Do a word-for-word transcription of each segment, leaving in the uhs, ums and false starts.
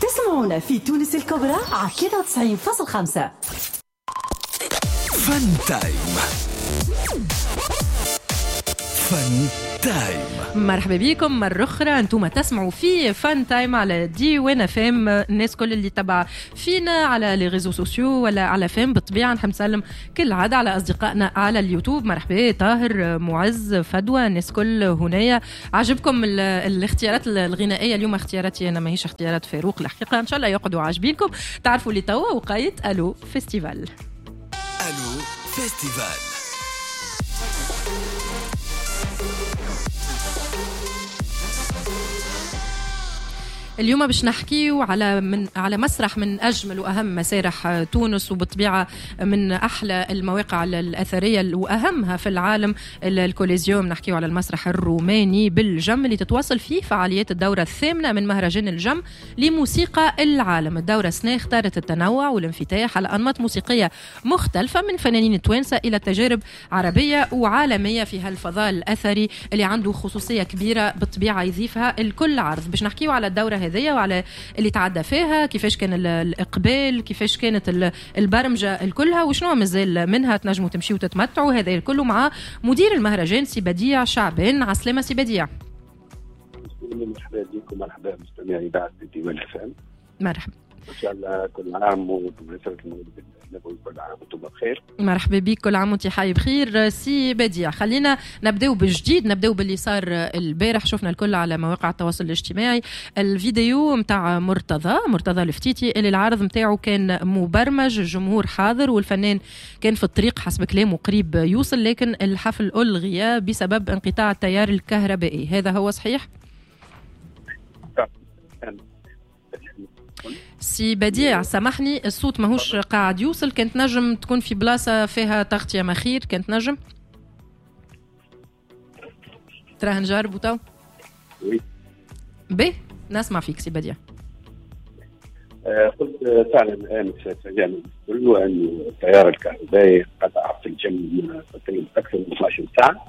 تسمعونا في تونس الكبرى على ثلاثة وتسعين فاصلة خمسة. فن تايم، فن تايم. مرحبا بكم مرة أخرى، أنتم تسمعوا في فان تايم على ديوان اف ام. الناس كل اللي تبع فينا على les réseaux sociaux ولا على فام بالطبيعة، نحب نسلم كل عادة على أصدقائنا على اليوتيوب. مرحبا طاهر، معز، فدوى، الناس كل هنايا. عجبكم الاختيارات الغنائية اليوم؟ اختياراتي أنا ماهيش اختيارات فاروق الحقيقة، إن شاء الله يقعدوا عاجبينكم. تعرفوا اللي توا وقايت ألو festival. ألو festival. اليوم باش نحكيو على من على مسرح من اجمل واهم مسارح تونس، وبالطبيعه من احلى المواقع الاثرية واهمها في العالم، الكوليزيوم. نحكيو على المسرح الروماني بالجم اللي تتواصل فيه فعاليات الدورة الثامنة من مهرجان الجم لموسيقى العالم. الدورة السنة اختارت التنوع والانفتاح على انماط موسيقية مختلفة من فنانين التوانسة الى تجارب عربية وعالميه في هالفضاء الاثري اللي عنده خصوصية كبيرة بالطبيعة يضيفها الكل عرض. باش نحكيو على الدورة هذه وعلى اللي تعدى فيها، كيفاش كان الإقبال، كيفاش كانت البرمجة الكلها، وشنو مازال منها تنجموا تمشيوا وتتمتعوا. هذا الكل مع مدير المهرجان سي بديع شعبان. عسلامة سي بديع. مرحبا بكم، مرحبا مستمعي إذاعة ديوان اف ام. مرحبا، إن شاء الله كل عام وبمناسبة المولد النبوي كل عام وانتم بخير. مرحبا بك، كل عام وانت حي بخير سي بديع. خلينا نبداو بالجديد، نبداو باللي صار البارح. شفنا الكل على مواقع التواصل الاجتماعي الفيديو متاع مرتضى مرتضى الفتيتي اللي العرض متاعه كان مبرمج، الجمهور حاضر والفنان كان في الطريق حسب كلامه قريب يوصل، لكن الحفل ألغي بسبب انقطاع التيار الكهربائي. هذا هو صحيح؟ سي بديع سامحني الصوت ماهوش قاعد يوصل، كانت نجم تكون في بلاصة فيها تغطية مخير، كانت نجم تراه نجربو تو. به نسمع فيك سي بديع. قلت فعلا امس تفاجأنا كله أن التيار الكهربائي قطع في الجم تقريبا أكثر من اثنا عشر ساعة.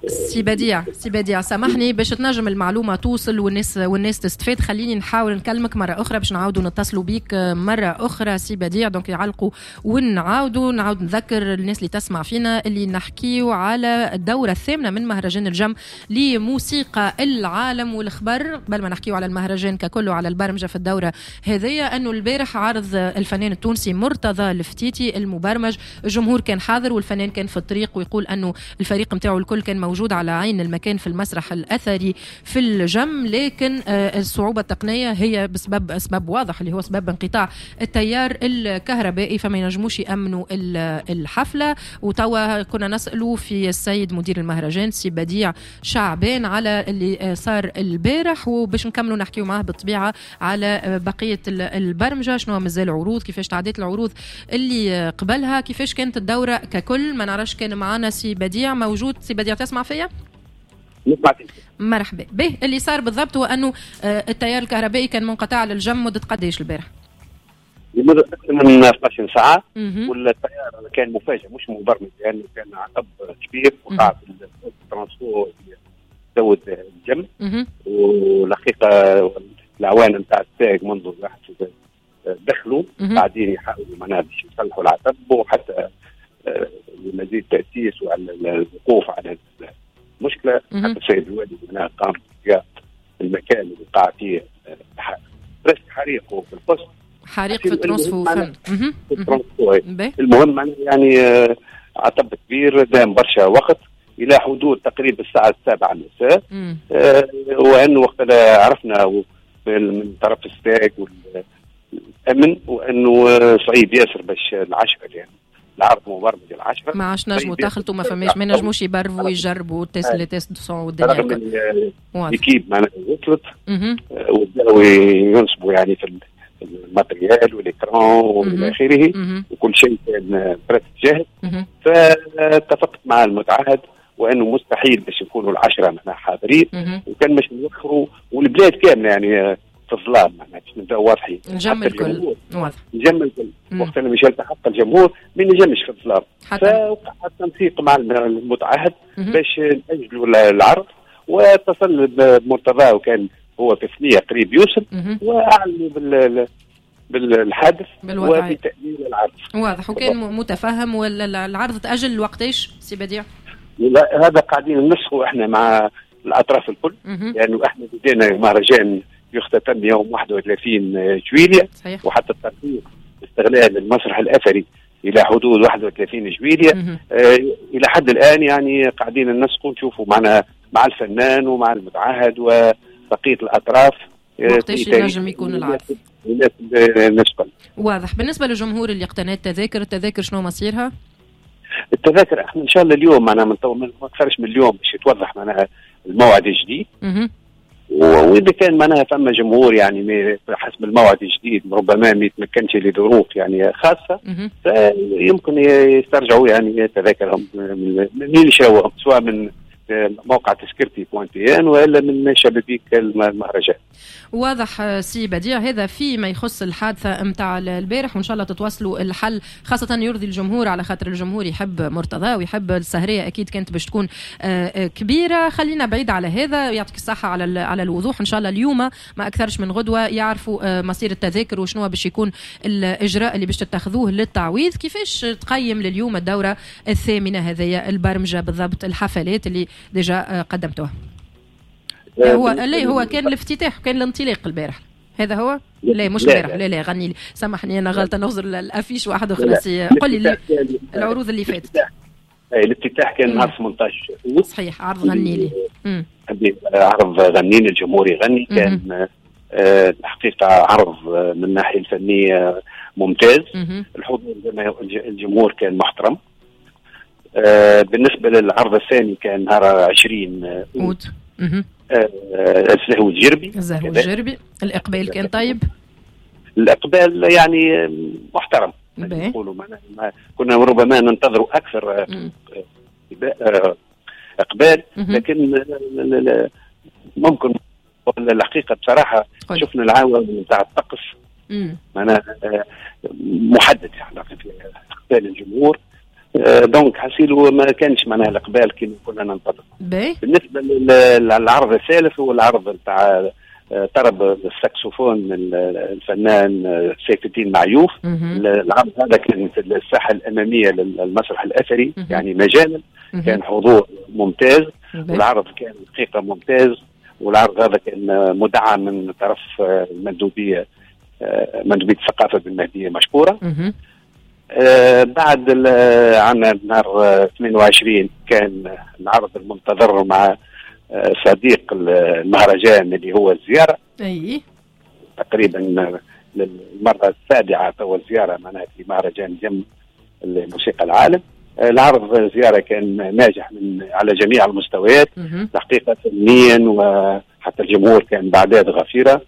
سي بديع سي بديع سامحني باش تنجم المعلومة توصل والناس والناس تستفاد، خليني نحاول نكلمك مرة اخرى باش نعاودوا نتصلوا بيك مرة اخرى سي بديع. donc يعلقوا ونعاودوا نعاود نذكر الناس اللي تسمع فينا اللي نحكيو على الدورة الثامنة من مهرجان الجم لموسيقى العالم. والخبر قبل ما نحكيو على المهرجان ككل وعلى البرمجة في الدورة هذيا، انه البارح عرض الفنان التونسي مرتضى الفتيتي المبرمج، الجمهور كان حاضر والفنان كان في الطريق، ويقول انه الفريق نتاعو الكل كان موجود على عين المكان في المسرح الأثري في الجم، لكن الصعوبة التقنية هي بسبب أسباب واضح اللي هو سبب انقطاع التيار الكهربائي، فما ينجموش يأمنوا الحفلة. وتوا كنا نسألوا في السيد مدير المهرجان سي بديع شعبان على اللي صار البارح، وباش نكملوا نحكيو معاه بالطبيعة على بقية البرمجة، شنو مازال عروض، كيفاش تعديت العروض اللي قبلها، كيفاش كانت الدورة ككل. ما نعرفش كان معنا سي بديع موجود. سي بديع تسمع فيا؟ مرحبا به. اللي صار بالضبط هو انه التيار الكهربائي كان منقطع للجم مدة قداش البارح؟ لمدة أكثر من اثنا عشر ساعة، والتيار كان مفاجئ مش مبرمج، لأنه يعني كان عطب كبير وقع في ال transfo زود الجم. والحقيقة العوان نتاع الساق منذ واحد دخلوا قاعدين يحاولوا معناها باش يصلحوا العطب، وحتى لمزيد تأسيس وعلى الوقوف على المشكلة. حتى السيد الوالي معناها قام المكان اللي وقع فيه حريق في القصر، حريق في ال transfo. في ال transfo. المهم يعني عطب كبير دام برشا وقت الى حدود تقريبا الساعة السابعة المساء. آه وانه وقت عرفنا من طرف الساق والامن وانه صعيب ياسر باش العشرة، يعني العرض مبرمج العشرة ما عادش نجموا تخلطوا، ما فماش ما نجموش يبرفوا ويجربوا test les tests de son والدنيا الكل. l'équipe معناها وصلت وبداوا ينصبوا يعني في ال matériel وال écran والى اخره، وكل شيء كان presque جاهز. فاتفقت مع المتعهد وانه مستحيل باش يكونوا العشرة معناها حاضرين، وكان باش نوخروا والبلاد كاملة يعني في الظلام، معناها باش نبداو واضحين. نجم الكل واضح، نجم الكل وقت اللي مش يلتحق الجمهور ما ينجمش في الظلام. فوقع التنسيق مع المتعهد باش نأجلوا العرض، واتصل بمرتضى وكان هو في ثنية قريب يوصل، واعلنوا بال بالحادث وبتأجيل العرض. واضح، وكان متفهم. ولا العرض تأجل وقتاش سي بديع؟ لا، هذا قاعدين ننسقوا احنا مع الاطراف الكل، لانه يعني احنا بدينا مهرجان يختتم يوم واحد وثلاثين جويلية، صحيح. وحتى الترتيب استغلال المسرح الاثري الى حدود واحد وثلاثين جويلية. آه الى حد الان يعني قاعدين ننسقوا نشوفوا معنا مع الفنان ومع المتعهد وبقية الاطراف وقتاش ينجم يكون العرض. واضح. بالنسبة للجمهور اللي اقتنى التذاكر، التذاكر شنو مصيرها؟ التذاكر احنا ان شاء الله اليوم معناها من ما اكثرش من اليوم باش يتوضح معناها الموعد الجديد. واذا كان معناها فما جمهور يعني حسب الموعد الجديد ربما ما يتمكنش لظروف يعني خاصة، فيمكن يسترجعوا يعني تذاكرهم من اللي شراوهم، سواء من موقع تذكرتي point tn والا من شبابيك المهرجان. واضح سي بديع، هذا فيما يخص الحادثة نتاع البارح، وان شاء الله تتواصلوا الحل خاصة يرضي الجمهور، على خاطر الجمهور يحب مرتضى ويحب السهريه، اكيد كانت باش تكون كبيرة. خلينا بعيد على هذا، يعطيك الصحة على على الوضوح. ان شاء الله اليوم ما اكثرش من غدوه يعرفوا مصير التذاكر وشنو باش يكون الاجراء اللي باش تتخذوه للتعويض. كيفاش تقيم لليوم الدورة الثامنة هذه البرمجة بالضبط، الحفلات اللي déjà قدمتوها؟ هو لا، هو كان الافتتاح وكان الانطلاق البارح، هذا هو؟ لا مش البارح، لا لا غني لي، سامحني انا غلطه نغزر ال affiche واحد وخلاص. قل لي العروض اللي فاتت. الافتتاح كان نهار ثمانية عشر أوت. صحيح، عرض غني لي. عرض غني لي الجمهور يغني، كان الحقيقة عرض من الناحية الفنية ممتاز. الحضور الجمهور كان محترم. آه بالنسبة للعرض الثاني كان نهار عشرين أوت. آه الزهو الجربي. الزهو الجربي، الإقبال كان طيب؟ الإقبال يعني محترم، نقولوا كنا ربما ننتظر أكثر آه إقبال، لكن ممكن الحقيقة بصراحة شفنا العوامل نتاع الطقس معناها محدد يعني في إقبال الجمهور، donc حسيلو ما كانش معناها الاقبال كما كنا ننتظر. بالنسبة للعرض الثالث هو العرض نتاع طرب الساكسوفون الفنان سيف الدين معيوف. العرض هذا كان في الساحة الامامية للمسرح الاثري، يعني مجانا، كان حضور ممتاز، والعرض كان حقيقة ممتاز. والعرض هذا كان مدعم من طرف المندوبيه، مندوبيه الثقافة بالمهديه مشكورة. آه بعد عندنا نهار اثنين وعشرين كان العرض المنتظر مع آه صديق المهرجان اللي هو الزيارة. أي تقريبا للمرة السابعة تو الزيارة معناها في مهرجان جم الموسيقى العالم. آه العرض الزيارة كان ناجح من على جميع المستويات الحقيقة، فنيا وحتى الجمهور كان بأعداد غفيرة.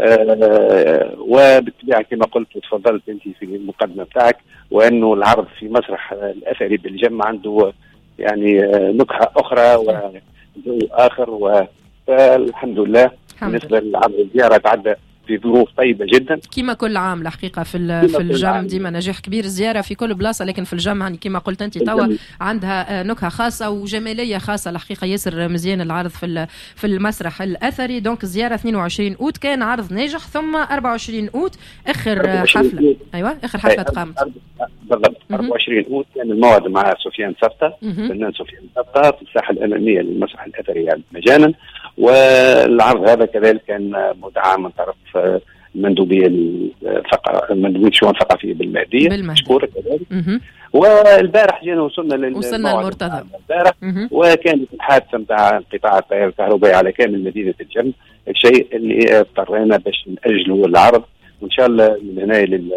آه وبالطبيعة كما قلت وتفضلت انت في المقدمة بتاعك، وانه العرض في مسرح الاثري بالجمع عنده يعني نكهة اخرى وجو اخر، والحمد لله. بالنسبة للعرض الزيارة تعدى في ظروف طيبة جدا كما كل عام الحقيقة في في الجم ديما نجاح كبير، الزيارة في كل بلاصة، لكن في الجم يعني كما قلت انت توا عندها نكهة خاصة وجماليه خاصة الحقيقة، ياسر مزيان العرض في في المسرح الاثري. donc الزيارة اثنين وعشرين اوت كان عرض ناجح، ثم أربعة وعشرين اوت اخر حفلة. ايوه اخر حفلة تقامت بالضبط أربعة وعشرين اوت كان الموعد مع سفيان سفته، فنان سفيان سفته في الساحة الامامية للمسرح الاثري يعني مجانا. والعرض هذا كذلك كان مدعم من طرف المندوبيه الثقافية، المندوبيه الشؤون الثقافية بالمهديه مشكورة كذلك. والبارح جينا وصلنا لل وصلنا للمرتضى البارح، وكانت الحادثة نتاع انقطاع التيار الكهربائي على كامل مدينة الجم، الشيء اللي اضطرينا باش ناجلوا العرض، وان شاء الله من هنا لل...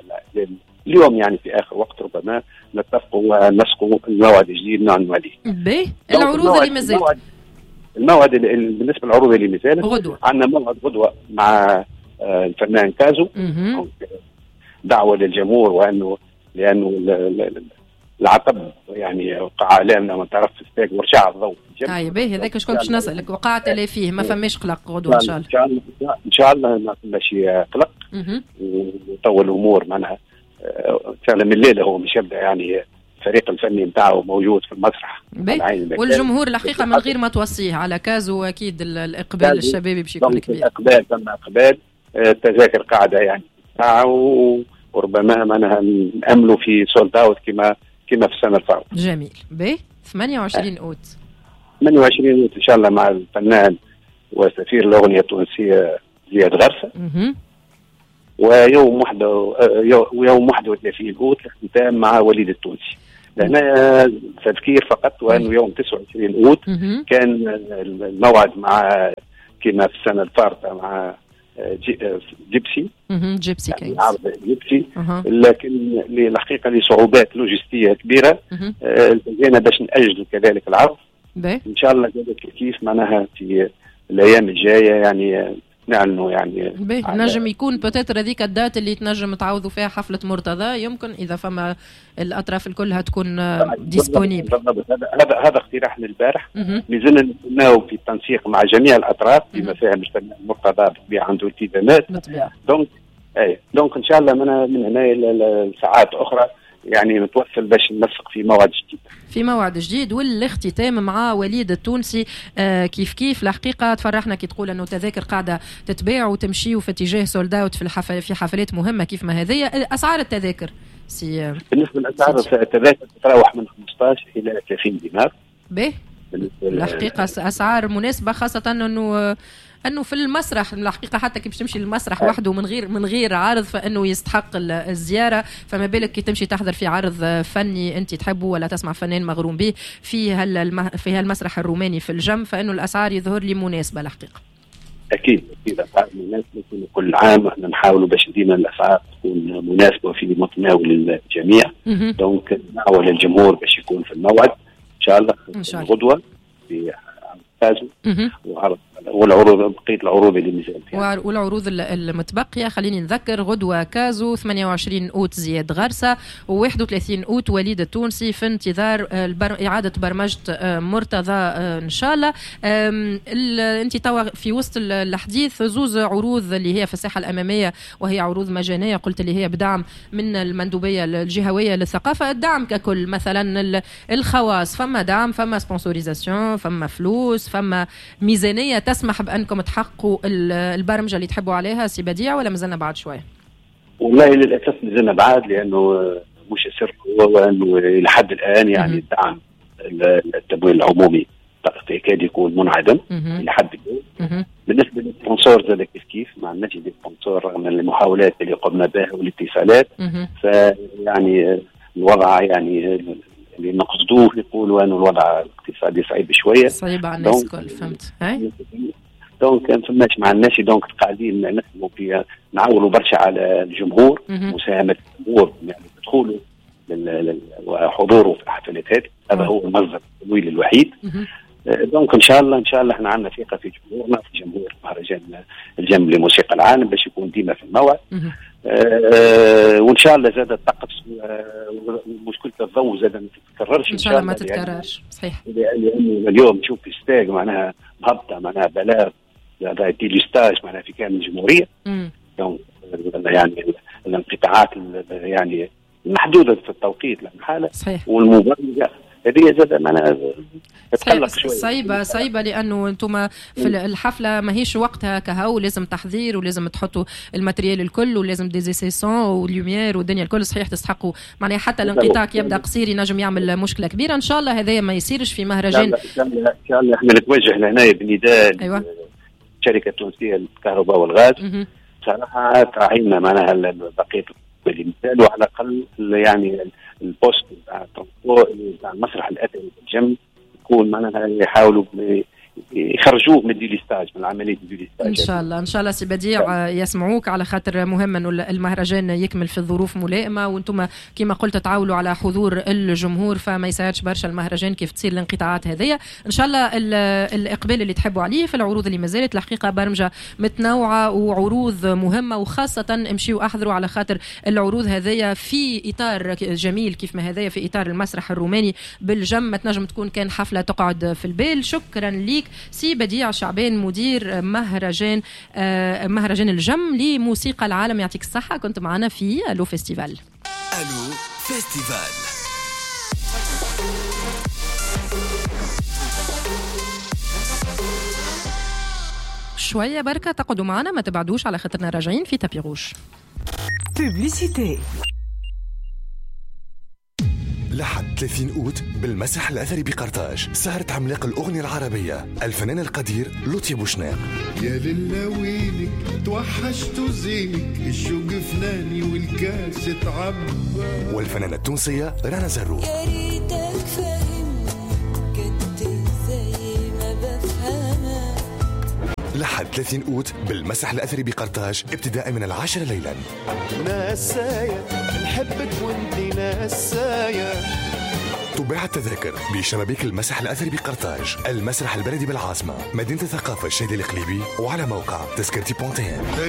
اليوم يعني في اخر وقت ربما نتفقوا ونسقوا الموعد الجديد نعلنوا عليه. باهي العروض اللي مازالت، الموعد بالنسبة للعروض اللي مازالت غدوه، عندنا موعد غدوه مع الفنان كازو، دعوه للجمهور، وانه لانه العطب يعني وقع علينا من طرف ستاك ورشع الضوء. اي باهي هذاك شكون باش نسالك، وقع تلا فيه ما فماش قلق غدوه ان شاء الله؟ ان شاء الله ما فماش قلق، وطول الامور معناها فعلا من الليلة هو مش يبدا يعني الفريق الفني نتاعو موجود في المسرح. والجمهور الحقيقة من غير ما توصية على كازو اكيد الاقبال الشبابي باش يكون كبير. الاقبال ثم اقبال، التذاكر قاعدة يعني وربما معناها ناملوا في sold out كما كما في السنة الفارطه. جميل. باهي ثمانية وعشرين اوت. ثمانية وعشرين اوت ان شاء الله مع الفنان وسفير الاغنية التونسية زياد غرسه. ويوم واحد ويوم واحد وثلاثين اوت الاختتام مع وليد التونسي. لهنا تذكير فقط وانه يوم تسعة وعشرين اوت كان الموعد مع كما في السنة الفارطه مع جي جيبسي جيبسي كينجز، جيبسي، لكن الحقيقة لصعوبات لوجستية كبيرة التزينا باش ناجل كذلك العرض. ان شاء الله كذلك كيف معناها في الايام الجاية يعني نعلنوا يعني نجم يكون peut-être هذيك ال date اللي تنجم تعوضوا فيها حفلة مرتضى، يمكن اذا فما الاطراف الكلها تكون disponible. بالضبط، هذا هذا اقتراحنا البارح، مازلنا نستناو في التنسيق مع جميع الاطراف بما فيها مجتمع مرتضى بالطبيعة عنده التزامات. donc اي donc ان شاء الله من من هنا لساعات اخرى يعني نتوصل باش ننسق في موعد جديد. في موعد جديد والاختتام مع وليد التونسي. آه كيف كيف الحقيقة تفرحنا كي تقول انه تذاكر قاعدة تتباع وتمشي وفي اتجاه sold out في الحفل في حفلات مهمة كيف ما هذه. اسعار التذاكر سي بالنسبة لاسعار التذاكر تتراوح من خمسطاش الى ثلاثين دينار. باهي الحقيقة اسعار مناسبة، خاصة انه انه في المسرح الحقيقة حتى كي باش تمشي للمسرح وحده من غير من غير عرض فانه يستحق الزيارة، فما بالك كي تمشي تحضر في عرض فني انت تحبه ولا تسمع فنان مغروم به في هالمه في هالمسرح الروماني في الجم، فانه الاسعار يظهر لي مناسبة الحقيقة. اكيد اكيد اسعار مناسبة، كل عام احنا نحاولوا باش ديما الاسعار تكون مناسبة في متناول الجميع. donc نعول الجمهور باش يكون في الموعد ان شاء الله غدوه في كازو وعرض والعروض بقية العروض اللي مازالت يعني. والعروض المتبقية خليني نذكر غدوه كازو ثمانية وعشرين اوت زياد غرسه وواحد وثلاثين اوت وليد التونسي، في انتظار البر... اعاده برمجة مرتضى ان شاء الله. انت توا في وسط الحديث زوز عروض اللي هي في الساحة الامامية وهي عروض مجانية، قلت اللي هي بدعم من المندوبيه الجهوية للثقافة. الدعم ككل مثلا الخواص فما دعم، فما sponsorisation، فما فلوس، فما ميزانية تسمح بأنكم تحققوا البرمجة اللي تحبوا عليها سي بديع، ولا مازلنا بعد شوية؟ والله للأسف مازلنا بعد، لأنه مش السر هو أنه لحد الآن يعني الدعم التمويل العمومي يكاد يكون منعدم لحد الآن. بالنسبة لل sponsors زاد كيف كيف ما عندناش des sponsors رغم المحاولات اللي قمنا بها والاتصالات، فيعني الوضع يعني اللي نقصدوه يقولوا أنه الوضع الاقتصادي صعيب شوية، صعيب على الناس الكل. فهمت. donc ما فماش مع الناس، donc قاعدين نخدموا في نعولوا برشا على الجمهور، مساهمة الجمهور يعني دخوله وحضوره في الحفلات هذه، هذا هو المصدر التمويل الوحيد. donc ان شاء الله ان شاء الله احنا عندنا ثقة في جمهورنا، في جمهور مهرجان الجم لموسيقى العالم باش يكون ديما في الموعد. آه وان شاء الله زاد الطقس ومشكلة الضوء زاد ما تتكررش ان شاء الله، ما تتكررش. صحيح، لانه اليوم نشوف في STEG معناها مهبطه معناها بلاغ هذا délestage معناها في كامل الجمهورية. donc يعني الانقطاعات يعني محدودة في التوقيت للحالة والمبرمجه هذه زاد معناها تقلق شوية، صعيبة صعيبة لانه انتم في الحفلة ماهيش وقتها كهو، لازم تحضير ولازم تحطوا ال matériel الكل ولازم des essais son و lumière والدنيا الكل. صحيح تستحقوا معناها حتى الانقطاع كي يبدا قصير ينجم يعمل مشكلة كبيرة. ان شاء الله هذايا ما يصيرش في مهرجان. ان شاء الله احنا نتوجه لهنا بنداء أيوة. الشركة التونسية للكهرباء والغاز بصراحة تعيننا معناها بقية المثال، وعلى الاقل يعني ال poste نتاع ال transport نتاع المسرح الاثري في الجم يكون معناها يحاولوا يخرجوه من délestage، من عملية délestage. ان شاء الله ان شاء الله سي بديع يسمعوك، على خاطر مهم انه المهرجان يكمل في الظروف ملائمه، وانتم كما قلت تعاولوا على حضور الجمهور، فما يساعدش برشا المهرجان كيف تصير الانقطاعات هذيا. ان شاء الله الاقبال اللي تحبوا عليه في العروض اللي مازالت الحقيقة برمجة متنوعة وعروض مهمة، وخاصة امشيوا احضروا على خاطر العروض هذيا في اطار جميل كيف ما هذايا في اطار المسرح الروماني بالجم، ما تنجم تكون كان حفلة تقعد في البال. شكرا ليك سي بديع شعبان مدير مهرجان آه مهرجان الجم لموسيقى العالم، يعطيك الصحة، كنت معنا في ألو festival. ألو festival. شوية بركة، تقعدوا معنا ما تبعدوش على خاطرنا راجعين في tapis rouge. publicité. لحد ثلاثين أوت بالمسرح الأثري بقرطاج، سهرة عملاق الأغنية العربية الفنان القدير لطفي بوشناق. يا للا وينك توحشت زينك، الشوق فناني والكاس تعبى. والفنانة التونسية رنا زروق. يا ريتك فاهمني كنت زي ما بفهمك. لحد ثلاثين أوت بالمسرح الأثري بقرطاج ابتداء من العاشرة ليلا. نسايا نحبك وانتي نسايا. تباع التذاكر بشبابيك المسرح الأثري بقرطاج، المسرح البلدي بالعاصمة، مدينة الثقافة الشاذلي القليبي، وعلى موقع تذكرتي point tn.